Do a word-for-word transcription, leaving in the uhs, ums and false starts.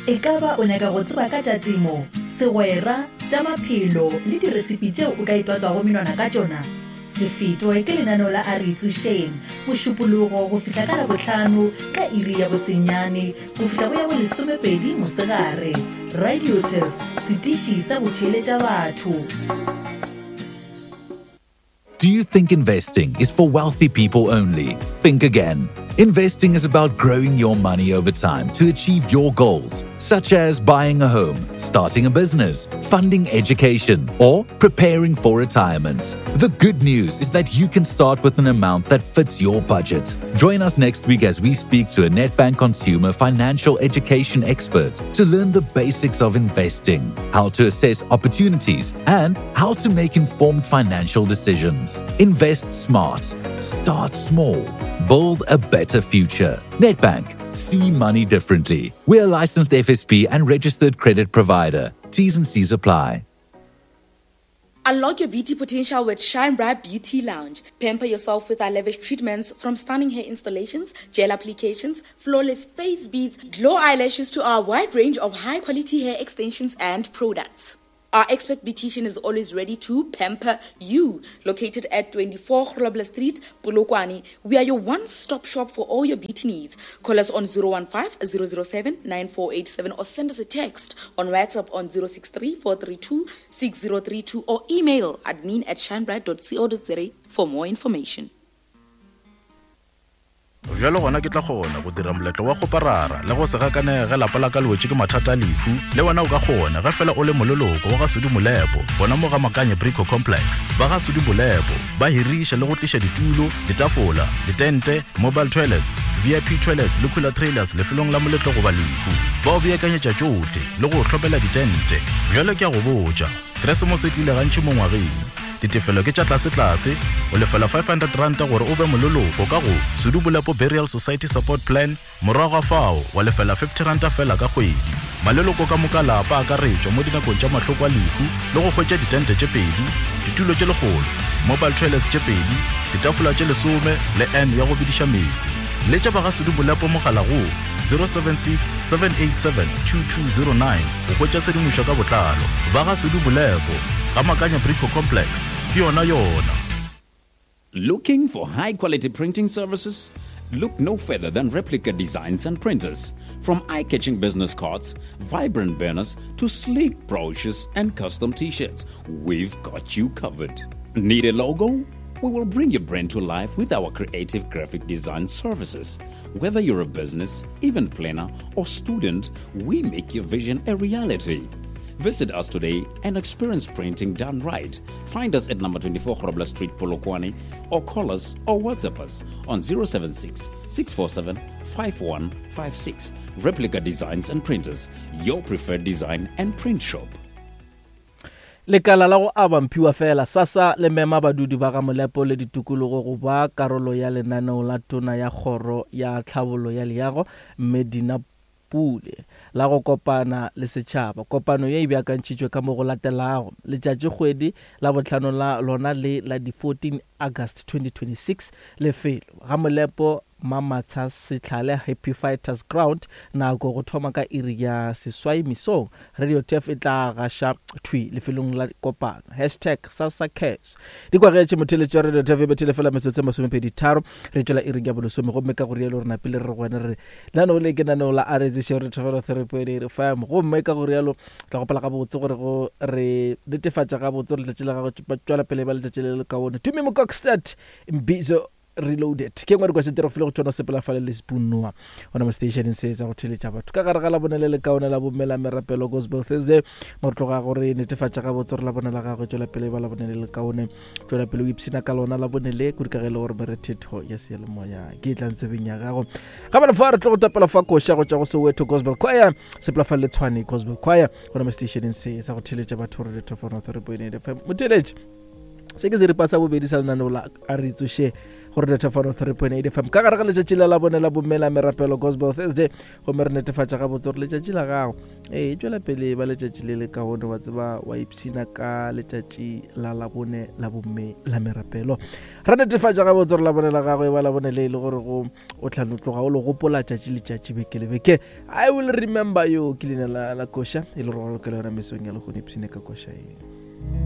E ka ba o nyaka go tseba ka tša temo, segwera, tša maphelo le diresipi tšeo o ka itwatswago menwana ka tšona? Se fetwe ke lenaneo la A Re Itsošeng, Mošupologo go fihla ka Labohlano ka iri ya bosenyane go fihla go ya bolesomepedi mosegare. Radio Turf, setiši sa go theeletša batho. Do you think investing is for wealthy people only? Think again. Investing is about growing your money over time to achieve your goals, such as buying a home, starting a business, funding education, or preparing for retirement. The good news is that you can start with an amount that fits your budget. Join us next week as we speak to a Nedbank consumer financial education expert to learn the basics of investing, how to assess opportunities, and how to make informed financial decisions. Invest smart, start small, build a better future. Nedbank, see money differently. We're a licensed F S P and registered credit provider. T's and C's apply. Unlock your beauty potential with Shine Bright Beauty Lounge. Pamper yourself with our lavish treatments, from stunning hair installations, gel applications, flawless face beads, glow eyelashes to our wide range of high-quality hair extensions and products. Our expert beautician is always ready to pamper you. Located at twenty-four Grobler Street, Polokwane, we are your one-stop shop for all your beauty needs. Call us on zero one five, zero zero seven, nine four eight seven or send us a text on WhatsApp on zero six three, four three two, six zero three two or email admin at shinebright dot co dot za for more information. Bjalo gona ke tla kgona go dira moletlo wa go parara le go se gakanege ge lapa la ka le wetše ke mathata a lehu. Le wena o ka kgona ge fela o le moleloko wa ga Sudi Molepo, gona mo ga Makanye Brico Complex. Ba ga Sudi Molepo ba hiriša le go tliša ditulo, ditafola, ditente, mobile toilets, V I P toilets le cooler trailers lefelong la moletlo goba lehu. Ba o beakanyetša tšohle le go hlopela ditente. Bjalo ke a go botša, Keresemose e tlile gantši mo ngwageng. Ditefelo ke tša tlase-tlase, o lefela five hundred rand gore o be moleloko ka go Sudi Molepo Burial Society Support Plan, morago ga fao wa lefela fifty rand fela ka kgwedi. Maleloko ka moka lapa a akaretšwa mo dinakong tša mahloko a lehu le go hwetša ditente tše pedi, ditulo tše lekgolo, mobile toilets tše pedi, ditafola tše lesome le N ya go bediša meetse. Letša ba ga Sudi Molepo mogala go zero seven six, seven eight seven, two two zero nine go hwetša tshedimošo ka botlalo. Ba ga Sudi Molepo, ga Makanya Brico Complex, ke yona yona. Looking for high-quality printing services? Look no further than Replica Designs and Printers. From eye-catching business cards, vibrant banners, to sleek brochures and custom t-shirts, we've got you covered. Need a logo? We will bring your brand to life with our creative graphic design services. Whether you're a business, event planner, or student, we make your vision a reality. Visit us today and experience printing done right. Find us at number twenty-four Grobler Street, Polokwane, or call us or WhatsApp us on zero seven six, six four seven, five one five six. Replica Designs and Printers, your preferred design and print shop. Lekala la go aba mphiwa fela SASSA le mema badudi ba ga Molepo le ditokologo go ba karolo ya lenaneo la tona ya kgoro ya tlhabollo ya leago mme Dina Pule la go kopana le setšhaba. Kopano ye e beakantšhitšwe ka mo go latelago: letšatši kgwedi la bohlano la lona le la di fourteen August twenty twenty-six, lefelo ga Molepo Mamatsha Setlhale Happy Fighters Ground, nako go thoma ka iri ya seswai mesong. Radio T F e tla gaša thwi lefelong la kopano. Hashtag SASSA Cares. Di kwagetše motheletši wa Radio T F e bethile fela metsotso e masomepedi tharo, re tšwela iri ya bolesome, gomme ka go rialo re napile re go wena re lenaneo le ke lenaneo la R C re thobela three point eight F M, gomme ka go rialo tla gopela gabotse gore go re netefatša gabotse gore letšatši la gago tšwela pele ba letšatši le le kaone. Tumi Mokokstad Mbizo Reloaded ke ngwe request re file go tšona sepela fale le Spoon Noah gona mo stationeng se tsa go theletša batho ka gare ga la bone le le kaone la bommela merapelo Gospel Thursday. Mo re tloga gore netefatša gabotse gore la bone la gagwe tšwela pele ba la bone le le kaone, tšwela pele o ipshina ka lona la bone le kudu ka ge e le gore merethetho ya seyalemoya ke e tlang tsebeng ya gago. Ga bana fa re tlo go tapela fa koša go tšwa go Soweto Gospel Choir, sepela fale le Tshwane Gospel Choir gona mo stationeng se sa go theletša batho re three point eight F M. Motheletši, se ke seripa sa bobedi sa lenaneo la A Re Itsoše Gore Netefano three point eight F M ka gare ga letšatši la labone la bomme la merapelo Gospel Thursday, gomme re netefatša gabotse gore letšatši la gago ee tšwela pele ba letšatši le le kaone, wa tseba wa ipshina ka letšatši la labone la bomme la merapelo. Re netefatša gabotse gore labone la gago e ba labone le e le gore go o tla no tloga o le gopola tšatši letšatši beke le beke. I will remember you ke leina la la koša e le gore go lokela yona mesong ya lehono, ipshine ka koša e.